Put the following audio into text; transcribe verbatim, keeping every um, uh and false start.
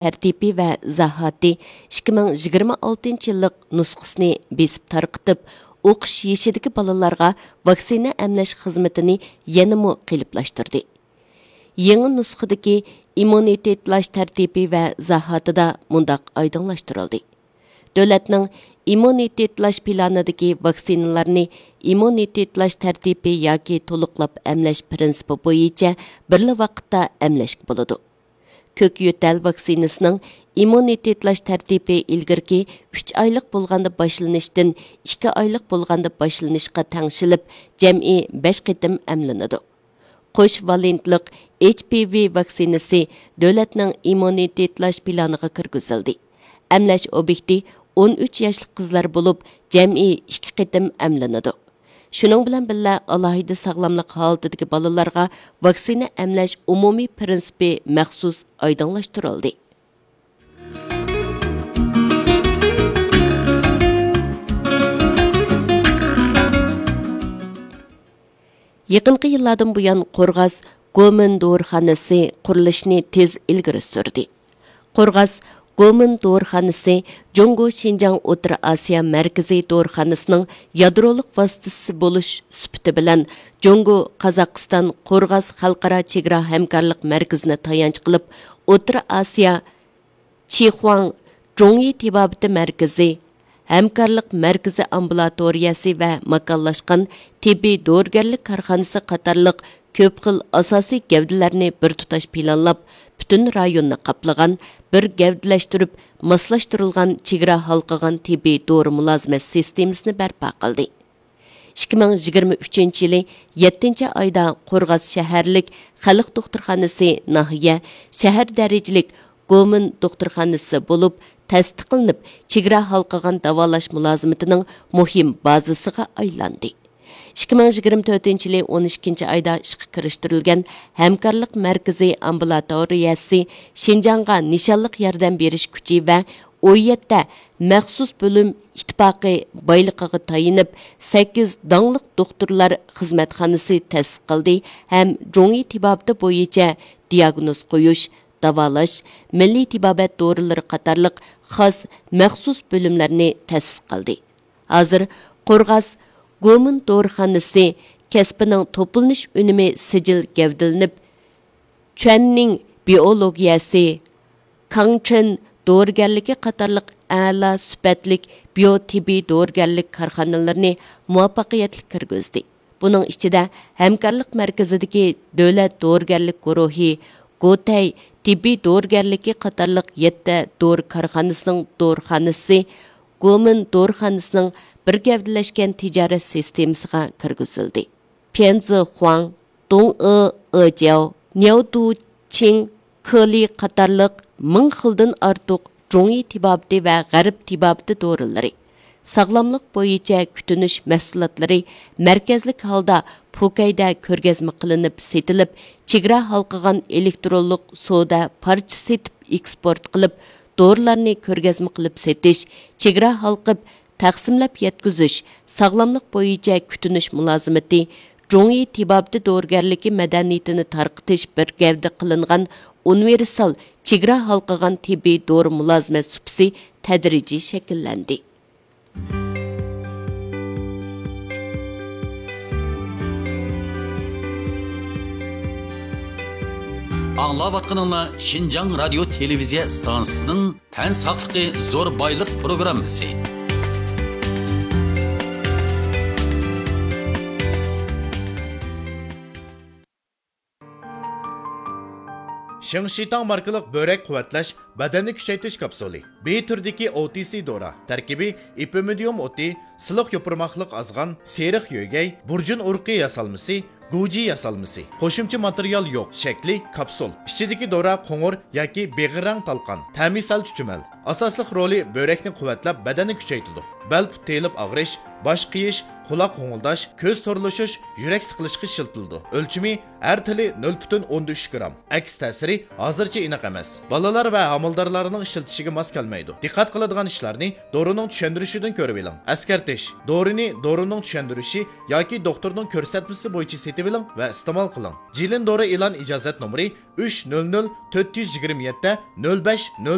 تەرتىپى ۋە ئىزاھاتى ئىككى مىڭ يىگىرمە ئالتىنچى يىللىق نۇسخىسىنى بېسىپ تارقىتىپ، ئوقۇش يېشىدىكى بالىلارغا ۋاكسىنا ئەملەش خىزمىتىنى يەنىمۇ قېلىپلاشتۇردى. يېڭى نۇسخىدىكى ئىممۇنىتېتلاش تەرتىپى ۋە ئىزاھاتىدا مۇنداق ئايدىڭلاشتۇرۇلدى: دۆلەتنىڭ ئىممۇنىتېتلاش پىلانىدىكى ۋاكسىنىلارنى ئىممۇنىتېتلاش تەرتىپى ياكى تولۇقلاپ ئەملەش پىرىنسىپى بويىچە بىرلا ۋاقىتتا ئەملەشكە بولىدۇ. كۆك يۆتەل ۋاكسىنىسىنىڭ ئىممۇنىتېتلاش تەرتىپى ئىلگىرىكى ئۈچ ئايلىق بولغاندا باشلىنىشتىن ئىككى ئايلىق بولغاندا باشلىنىشقا تەڭشىلىپ، جەمئىي بەش قېتىم ئەملىنىدۇ. قوش ۋالېنتلىق ئېچ پى ۋى ۋاكسىنىسى دۆلەتنىڭ ئىممۇنىتېتلاش پىلانىغا كىرگۈزۈلدى. ئەملەش ئوبيېكتى ئون ئۈچ ياشلىق قىزلار بولۇپ، جەمئىي ئىككى قېتىم ئەملىنىدۇ. شۇنىڭ بىلەن بىللە، ئالاھىدە ساغلاملىق ھالىتىدىكى بالىلارغا ۋاكسىنا ئەملەش ئومۇمىي پىرىنسىپى مەخسۇس ئايدىڭلاشتۇرۇلدى. يېقىنقى يىللاردىن بۇيان، قورغاس گومىن دورىخانىسى قۇرۇلۇشىنى تېز ئىلگىرى سۈردى. قورغاس گومىن دورىخانىسى جۇڭگو شىنجاڭ ئوتتۇرا ئاسىيا مەركىزىي دورىخانىسىنىڭ يادرولۇق ۋاسىتىسى بولۇش سۈپىتى بىلەن، جۇڭگو قازاقىستان قورغاس خەلقئارا چېگرا ھەمكارلىق مەركىزىنى تايانچ قىلىپ، ئوتتۇرا ئاسىيا چىخۇاڭ جۇڭيى تېبابىتى مەركىزى، ھەمكارلىق مەركىزى ئامبۇلاتورىيەسى ۋە ماكانلاشقان تېببىي دورىگەرلىك كارخانىسى قاتارلىق كۆپ خىل ئاساسىي گەۋدىلەرنى بىر تۇتاش پىلانلاپ، پۈتۈن رايوننى قاپلىغان، بىر گەۋدىلەشتۈرۈپ ماسلاشتۇرۇلغان چېگرا ھالقىغان تېببىي دورا مۇلازىمەت سىستېمىسىنى بەرپا قىلدى. ئىككى مىڭ يىگىرمە ئۈچىنچى يىلى يەتتىنچى ئايدا قورغاس شەھەرلىك خەلق دوختۇرخانىسى ناھىيە، شەھەر دەرىجىلىك گومىن دوختۇرخانىسى بولۇپ تەستىقلىنىپ، چېگرا ھالقىغان داۋالاش مۇلازىمىتىنىڭ مۇھىم بازىسىغا ئايلاندى. ئىككى مىڭ يىگىرمە تۆتىنچى يىلى ئون ئىككىنچى ئايدا ئىشقا كىرىشتۈرۈلگەن ھەمكارلىق مەركىزى ئامبۇلاتورىيەسى شىنجاڭغا نىشانلىق ياردەم بېرىش كۈچى ۋە ئون يەتتە مەخسۇس بۆلۈم ئىتتىپاقى بايلىقىغا تايىنىپ، سەككىز داڭلىق دوختۇرلار خىزمەتخانىسى تەسىس قىلدى ھەم جۇڭيى تېبابىتى بويىچە دىياگنوز قويۇش، داۋالاش، مىللىي تېبابەت دورىلىرى قاتارلىق خاس مەخسۇس بۆلۈملەرنى تەسىس قىلدى. ھازىر قورغاس گومىن دورىخانىسى كەسپىنىڭ توپلىنىش ئۈنۈمى سىجىل گەۋدىلىنىپ، چۈەننىڭ بىئولوگىيەسى، كاڭچېن دورىگەرلىكى قاتارلىق ئەلا سۈپەتلىك بىيو تېببىي دورىگەرلىك كارخانىلىرىنى مۇۋەپپەقىيەتلىك كىرگۈزدى. بۇنىڭ ئىچىدە، ھەمكارلىق مەركىزىدىكى دۆلەت دورىگەرلىك گۇرۇھى، گوتەي تېببىي دورىگەرلىكى قاتارلىق يەتتە دورا كارخانىسىنىڭ دورىخانىسى گومىن دورىخانىسىنىڭ بىر گەۋدىلەشكەن تىجارەت سىستېمىسىغا كىرگۈزۈلدى. پيەنزىخۇاڭ، دۇڭئې ئېجياۋ، نياۋدۇچىڭ كېلى قاتارلىق مىڭ خىلدىن ئارتۇق جۇڭيى تېبابىتى ۋە غەرب تېبابىتى دورىلىرى، ساغلاملىق بويىچە كۈتۈنۈش مەھسۇلاتلىرى مەركەزلىك ھالدا پۇكەيدە كۆرگەزمە قىلىنىپ سېتىلىپ، چېگرا ھالقىغان ئېلېكترونلۇق سودا پارچە سېتىپ ئېكسپورت قىلىپ، دورىلارنى كۆرگەزمە قىلىپ سېتىش، چېگرا ھالقىپ تەقسىملەپ يەتكۈزۈش، ساغلاملىق بويىچە كۈتۈنۈش مۇلازىمىتى، جۇڭيى تېبابىتى دورىگەرلىكى مەدەنىيىتىنى تارقىتىش بىر گەۋدە قىلىنغان ئۇنىۋېرسال چېگرا ھالقىغان تېببىي دورا مۇلازىمەت سۇپىسى تەدرىجىي شەكىللەندى. ئاڭلاۋاتقىنىڭلار شىنجاڭ رادىيو تېلېۋىزىيە ئىستانسىسىنىڭ تەن ساقلىقى زور بايلىق پروگراممىسى. شىڭشىتاڭ ماركىلىق بۆرەك قۇۋۋەتلەش، بەدەننى كۈچەيتىش كاپسۇلى. بى تۈرىدىكى ئو تى سى دورا. تەركىبى ئېپىمىدىيۇم ئوتى، سىلىق يوپۇرماقلىق ئازغان، سېرىق يۆگەي، بۇرجۇن ئۇرۇقى ياسالمىسى، گۇجى ياسالمىسى. قوشۇمچە ماتېرىيال يوق. شەكلى كاپسۇل. ئىچىدىكى دورا قوڭۇر ياكى بېغىر رەڭ تالقان. تەمى سەل چۈچۈمەل. ئاساسلىق رولى بۆرەكنى قۇۋۋەتلەپ، بەدەننى كۈچەيتىدۇ. بەل پۇت تېيىلىپ ئاغرىش، باش قېيىش، قۇلاق غوڭۇلداش، كۆز تورلىشىش، يۈرەك سىقىلىشقا ئىشلىتىلىدۇ. ئۆلچىمى ھەر تىلى نۆل پۈتۈن ئوندىن ئۈچ گرام. ئەكس تەسىرى ھازىرچە ئېنىق ئەمەس. بالىلار ۋە ھامىلىدارلارنىڭ ئىشلىتىشىگە ماس كەلمەيدۇ. دىققەت قىلىدىغان ئىشلارنى دورىنىڭ چۈشەندۈرۈشىدىن كۆرۈۋېلىڭ. ئەسكەرتىش: دورىنى دورىنىڭ چۈشەندۈرۈشى ياكى دوختۇرنىڭ كۆرسەتمىسى بويىچە سېتىۋېلىڭ ۋە ئىستېمال قىلىڭ. جىلىن دورا ئېلان ئىجازەت نومۇرى ئۈچ نۆل نۆل تۆت يۈز يىگىرمە يەتتە نۆل بەش نۆل